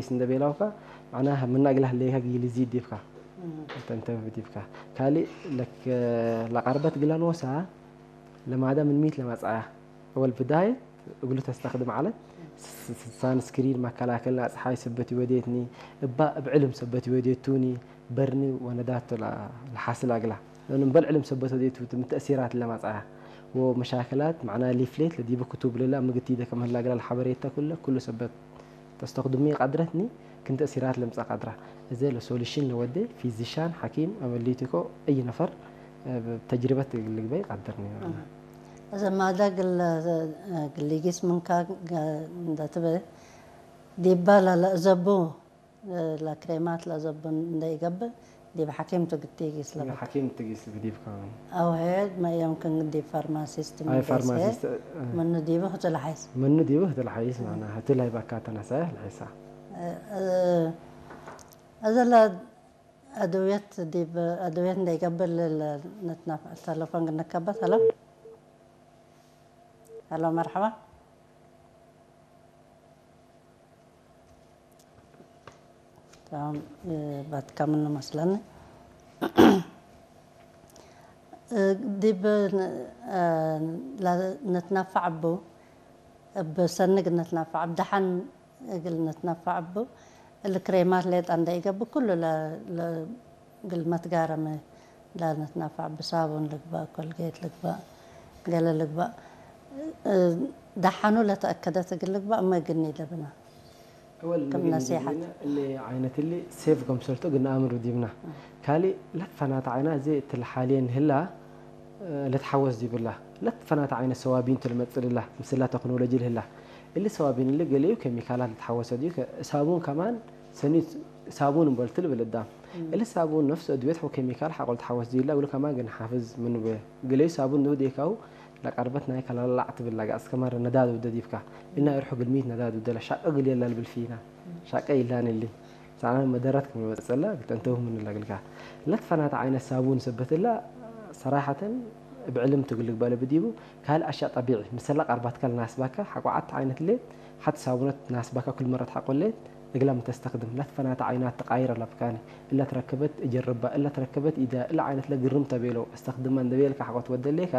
ስ እንደ ቤላውካ፣ معناها ምናግላህ ሌካ ጊሊ ዚድ ዲብካ። እንተ እንተ ዲብካ ካልእ ለክ ለቀርበት ግላኖሳ ለማዳ ምን ሚት ለመጻያ ወል ብዳየት እግሉ ተስተኽድም ዓለት ሳንስክሪን መከላከል ጸሓይ ሰበት ይወዴትኒ እባ እብ ዕልም ሰበት ይወዴቱኒ በርኒ ወነዳት ለሓስል ኣግላ ለምን በል ዕልም ሰበት ወዴቱ ምን ተእሲራት ለመጻያ ወመሻከላት ማዕና ሊፍሌት ለዲቡ ክቱብ ልላ ምግቲ ደ ከመህላ ግላ ለሓበሬታ ኩለ ኩሉ ሰበት ተስተኽድሚ ቃድረትኒ ክን ተእሲራት ለምጻ ቃድራ እዘ ለሶሉሽን ለወደ ፊዚሻን ሓኪም ኣመሊቲኮ እይ ነፈር ተጅሪበት ልግበይ ቃድርኒ። እዚ ማዳ ግል ግሊጊስ ምንካ እንዳትበ ዲባ ላላ ዘቡ ላክሬማት ለዘቡ እንዳይገብር ዲብ ሓኪም ትግቲጊስ ለበ ሓኪም ትግስ ብዲብ ከውን ኣውሄ መየምክን ዲብ ፋርማሲስት ኣይ ፋርማሲስት ምኑ ዲቡ ክትልሓይስ ምኑ ዲቡ ክትልሓይስ ማና ህትላይ ባካ ተነሳያ ልሒሳ እዘለ ኣድውየት ዲብ ኣድውየት እንዳይገብር ነትና ተለፎን ግንከበት ሄሎ ሄሎ መርሓባ ባትካ ምኑ መስለኒ ዲብ ነትናፋዕ ቡ እብ ሰንግ ነትናፋዕ ብ ደሓን እግል ነትናፋዕ ቡ እሊ ክሬማት ሌጣ እንደ ኢገብእ ኩሉ እግል መትጋረመ ላነትናፋዕ ብሳቡን ልግባእ ኮልጌት ልግባእ ገለ ልግባእ ደሓኑ ለተኣከደት እግል ልግባእ እመ ግኒ ደብና እወል ከም ነሲሓት እሊ ዓይነት እሊ ሴፍ ከምሰልቶ ግን ኣምር ዲብና ካልእ ለትፈናት ዓይና እዚ እትልሓልየን ህላ ለትሓወስ ዲብላ ለትፈናት ዓይነት ሰዋቢን ትልመጽልላ ምስላ ተክኖሎጂ ልህላ እሊ ሰዋቢን እሊ ገሊኡ ኬሚካላት ልትሓወሰ ድዩ ሳቡን ከማን ሰኒ ሳቡን እምበልቲ ልብል እዳም እሊ ሳቡን ነፍስ እድቤት ኬሚካል ሓቆል ትሓወስ ድዩ ላ እብሉ ከማን ግን ሓፍዝ ምንበ ገሊኡ ሳቡን ንብዴካው ለቀርበት ናይ ከላላዕ ትብል ላጋ እስከ ማረ ነዳድ ውደ ዲብካ እና ይርሑ ግልሚት ነዳድ ውደ ለሻቀ ግል የላ ልብል ፊና ሻቀ ይላን እሊ ሳና መደረት ክመበጸላ ግተንተው ምን ለግልካ ለትፈናት ዓይነ ሳቡን ሰበትላ ሰራሐተን ብዕልም ትግልግ በለ ብዲቡ ካል ኣሻ ጠቢዒ ምሰላ ቀርባትካ ለናስባካ ሓቋዓት ዓይነት ሌት ሓት ሳቡነት ናስባካ ኩል መረት ሓቆሌት እግላ ምተስተኽድም ለትፈናት ዓይናት ትቃይር ኣለብካኒ እላ ትረከበት እጀርባ እላ ትረከበት ኢዳ እላ ዓይነት ለግርም ተቤሎ እስተኽድማ እንደቤልካ ሓቆት ወደሌካ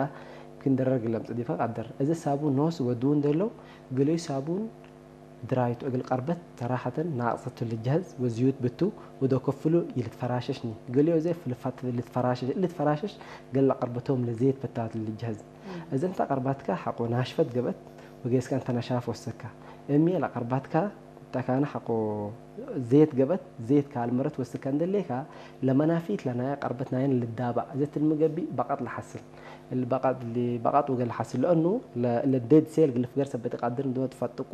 ክንደረር ግለም ጽዲፈ ቃደር እዚ ሳቡን ኖስ ወድውን ደሎ ገለዩ ሳቡን ድራይቱ እግል ቀርበት ሰራሐተን ናቅጸቱ ልጃዝ ወዝዩት ብቱ ወዶ ከፍሉ ይልትፈራሸሽኒ ገለዮ ዘ ፍልፋት ልትፈራሸሽ ልትፈራሸሽ ገለ ቀርበቶም ለዘየት በታት ልጃዝ እዘንታ ቀርባትካ ሓቆ ናሽፈት ገበት ወገስካ እንተ ነሻፍ ወሰካ እሚ ለቀርባትካ ተካነ ሓቆ ዘየት ገበት ዘየት ካልመረት ወስካ እንደሌካ ለመናፊት ለናያ ቀርበት ናየን ልዳባእ ዘትልምገቢ በቀጥ ለሓስል በቃጥ ወገል ሓስል ለአኑ ለዴድ ሴል ግልፍ ገር ሰበት ቃድር እንዶ ትፈጥቁ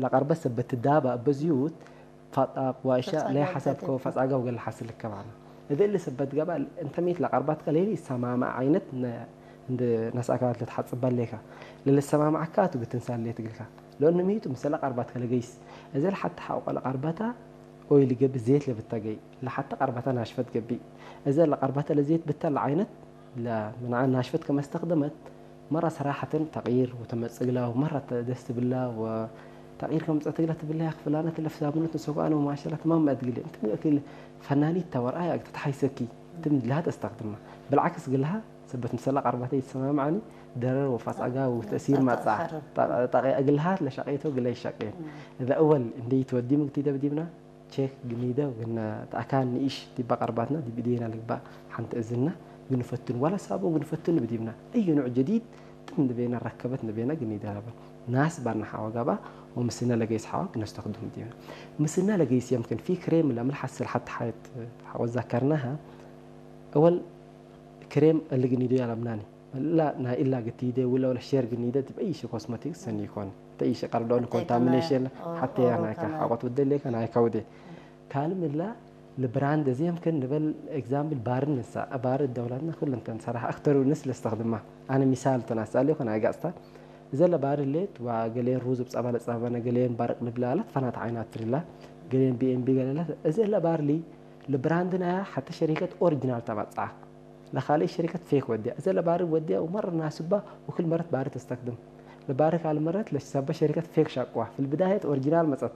ለቀርበት ሰበት ትዳባ በዝዩት ፋጣቅ ዋሻ ላይ ሓሳብ ከው ፈጻጋ ወገል ሓስል ከማና እደ እለ ሰበት ገባ እንተ ሚት ለቀርባት ከለይሊ ሰማማ ዓይነት እንደ ነስኣካላት ለትሓጽባ ለካ ለለሰማማዓካ ትግትን ሳለ ትግልካ ለአኑ ሚቱ ምሰለ ቀርባት ከለገይስ እዘ ለሓታ ሓቆ ለቀርባታ ኦይ ልገብ ዘይት ለብታገይ ለሓታ ቀርባታ ናሽፈት ገቢ እዘ ለቀርባታ ለዘይት ብታ ለዓይነት ለምንዓ ናሽፈት ከመስተኽደመት መራ ሰራሐተን ተቕይር ወተመጽግላ ወመራ ደስ ትብላ ወተቕይር ከምጸት ግላ ትብላ ያኽ ፍላነት ለፍሳብነት ንሰኳነ ወማሸላ ተማም መድግል እንት እክል ፈናኒት ተወርኣያ ተተሓይሰኪ ትም ድልሃት ኣስተኽድማ ብልዓክስ ግልሃ ሰበት ምሰላ ቀርባተ ይሰማምዓኒ ደረር ወፋጻጋ ወተእሲር ማጻ ጠቕያ እግልሃት ለሻቀይቶ ግላ ይሻቀየን እዛ እወል እንደ ይትወዲ ምግቲ ደብዲብና ቼክ ግኒደ ግና ተኣካን ንኢሽ ዲባ ቀርባትና ዲብ ኢዴና ልግባእ ሓንቲ እዝና ግንፈትን ዋላ ሳቦ ግንፈትን ብዲብና እዩ ኑዕ ጀዲድ ጥም ንቤና ረከበት ንቤና ግኒደ ለበን ናስ ባና ሓዋ ጋባ ወምስና ለገይስ ሓዋ ግነስተኽዱም ዲብና ምስና ለገይስ የምክን ፊ ክሬም ለምልሓት ስልሓት ሓየት ሓወት ዛከርናሃ እወል ክሬም እልግኒዶ ያለምናኒ ላ ናይ ኢላ ግቲደ ውለ ወለ ሼር ግኒደ ትበይሽ ኮስሞቲክስ ሰኒ ይኮን ተይሽ ቀርዶን ኮንታሚኔሽን ሓተያ ናይካ ሓቆት ውደሌካ ናይካ ውዴ ካልም ላ ለብራንድ እዚ የምክን ንበል ኤግዛምፕል ባርን ንሳ ባር ደውላትና ኩሉ እንተን ሰራሕ ኣክተሩ ንስ ለስተኽድማ ኣነ ሚሳል ተናሳለ ይኮን ኣይጋጽታ እዘ ለባር ሌት ዋ ገሌን ሩዝ ብጸባ ለጸባነ ገሌን ባርቅ ንብላለት ፈናት ዓይናት ትርላ ገሌን ቢኤምቢ ገለለት እዘ ለባርሊ ለብራንድ ናያ ሓተ ሸሪከት ኦሪጂናል ተባጽዓ ለኻልእ ሸሪከት ፌክ ወዲያ እዘ ለባሪ ወዲያ ወመር ናስባ ወክል መረት ባሪ ተስተክድም ለባሪ ካል መረት ለሰበ ሸሪከት ፌክ ሻቅዋ ፍል ብዳየት ኦሪጂናል መጸት